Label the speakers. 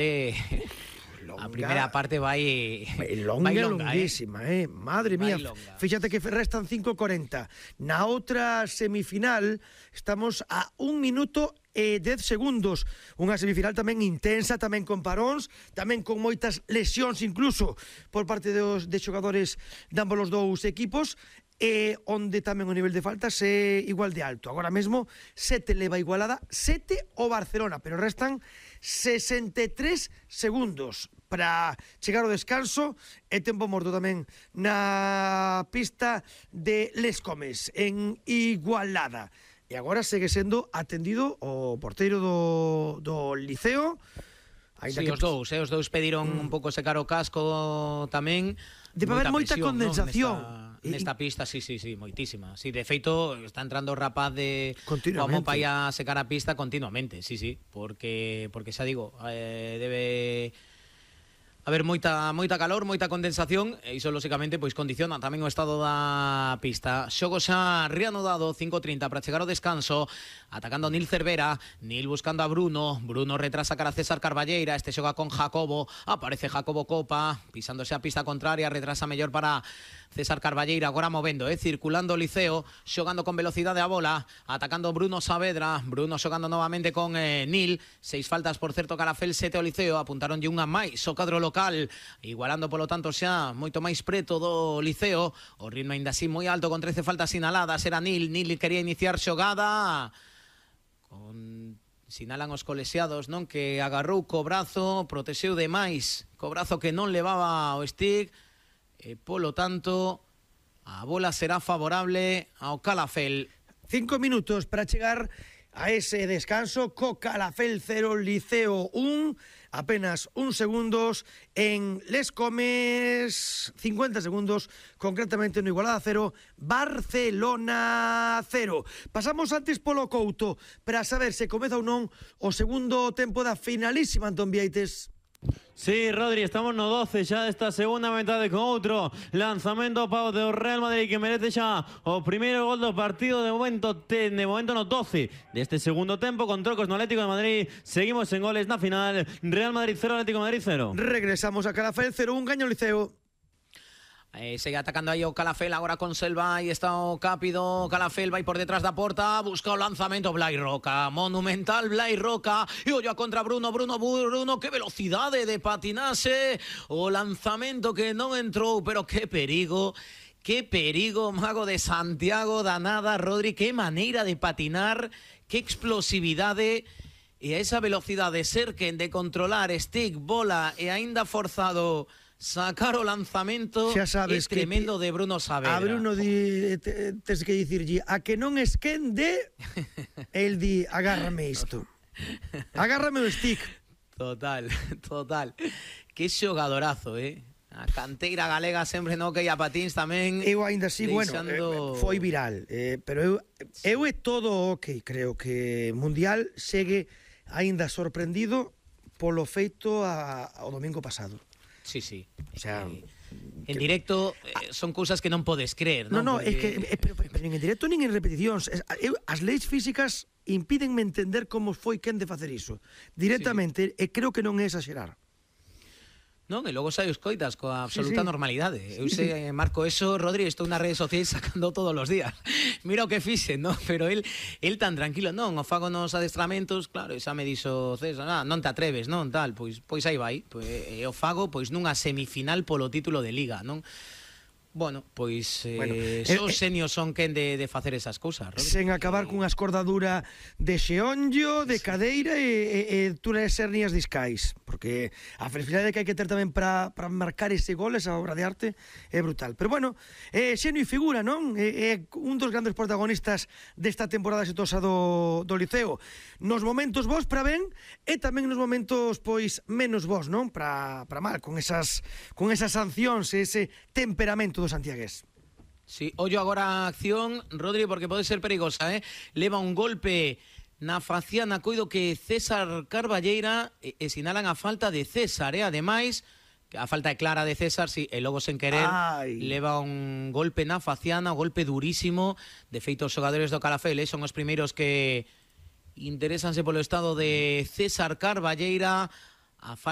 Speaker 1: A primeira parte vai
Speaker 2: longuísima, Madre mía, fíxate que restan 5:40. Na outra semifinal estamos a 1 minuto e 10 segundos. Unha semifinal tamén intensa, tamén con paróns, tamén con moitas lesións incluso por parte de xogadores de ambos os dous equipos, onde tamén o nivel de faltas é igual de alto. Agora mesmo 7 leva Igualada, 7 o Barcelona, pero restan 63 segundos para chegar ao descanso e tempo morto tamén na pista de Les Comes en Igualada. E agora segue sendo atendido o porteiro do Liceo.
Speaker 1: Sí, os dous pediron un pouco secar o casco tamén.
Speaker 2: Debe haber moita condensación,
Speaker 1: ¿no? Nesta pista, sí, moitísima. Sí, de feito, está entrando o rapaz de Juanmo Pai a secar a pista continuamente, sí, porque xa digo, debe haber moita calor, moita condensación, e iso, lóxicamente, pois condiciona tamén o estado da pista. Xogo xa reanudado, 5:30 para chegar ao descanso, atacando Nil Cervera, Nil buscando a Bruno retrasa cara a César Carballeira, este xoga con Jacobo, aparece Jacobo Copa, pisándose a pista contraria, retrasa mellor para César Carballeira, agora movendo, circulando o Liceo, xogando con velocidade a bola, atacando Bruno Saavedra, Bruno xogando novamente con Nil, 6 faltas, por certo, Calafel, 7 o Liceo, apuntaronlle unha máis o cadro local, igualando polo tanto xa moito máis preto do Liceo, o ritmo ainda así moi alto con 13 faltas sinaladas, era Nil quería iniciar xogada, sinalan os colexiados, non, que agarrou co brazo, protexeu demais co brazo que non levaba o stick, e polo tanto a bola será favorable ao Calafel.
Speaker 2: 5 minutos para chegar a ese descanso, co Calafel 0, Liceo 1, apenas 1 segundos en Les Comes, 50 segundos concretamente no Igualada 0, Barcelona 0. Pasamos antes polo Couto para saber se comeza ou non o segundo tempo da finalísima, Antón Vieites.
Speaker 3: Sí, Rodri, estamos no 12 xa desta segunda metade con outro lanzamento pavo do Real Madrid que merece xa o primeiro gol do partido de momento no 12 deste segundo tempo con trocos no Atlético de Madrid. Seguimos en goles na final, Real Madrid 0, Atlético de Madrid 0.
Speaker 2: Regresamos a Calafel 0-1, gaño o Liceo.
Speaker 1: Segue atacando aí o Calafel agora con Selva, aí está o Cápido, Calafel vai por detrás da porta, busca o lanzamento Blai Roca, monumental Blai Roca, e ollo contra Bruno, que velocidade de patinase, o lanzamento que non entrou, pero que perigo, Mago de Santiago, danada, Rodri, que maneira de patinar, que explosividade, e a esa velocidade Serken de controlar stick, bola e aínda forzado sacar o lanzamento é tremendo de Bruno Saavedra.
Speaker 2: A Bruno tes que dicirlle a que non esquende, el di agárrame isto, agárrame o stick.
Speaker 1: Total. Que xogadorazo, A canteira galega sempre no que ia patins tamén.
Speaker 2: Eu ainda así, foi viral, pero eu é todo ok. Creo que Mundial segue ainda sorprendido polo feito ao domingo pasado.
Speaker 1: Sí. O sea, en directo son cousas que non podes creer, non?
Speaker 2: No, é que pero nin en directo nin en repeticións. As leis físicas impídenme entender como foi quen de facer iso. Directamente, e creo que non é exagerar.
Speaker 1: Non, e logo sai os coitas coa absoluta normalidade. Eu sei, marco eso, Rodri, estou nas redes sociais sacando todos os días. Mira o que fixen, non? Pero el tan tranquilo, non, o fago nos adestramentos, claro, xa me dixo César, non te atreves, non, tal, pois aí vai. E o fago, pois nunha semifinal polo título de Liga, non? Bueno, pois os senios son quen de facer esas cousas, Rodri.
Speaker 2: Sen acabar cunha escordadura de xeonllo, de cadeira e túneles hernias discais, porque a flexibilidade que hai que ter tamén para marcar ese gol, esa obra de arte, é brutal. Pero bueno, xenio e figura, non? É un dos grandes protagonistas desta temporada exitosa do Liceo. Nos momentos bons para ben e tamén nos momentos pois menos bons, non? Para mal, con esas sancións e ese temperamento do santiagués.
Speaker 1: Sí, ollo agora a acción, Rodri, porque pode ser perigosa, leva un golpe na faciana, coido que César Carballeira, e sinalan a falta de César, ademais, a falta é clara de César, sí, e logo sen querer leva un golpe na faciana, un golpe durísimo. De feito, os xogadores do Calafel son os primeiros que interesanse polo estado de César Carballeira. A falta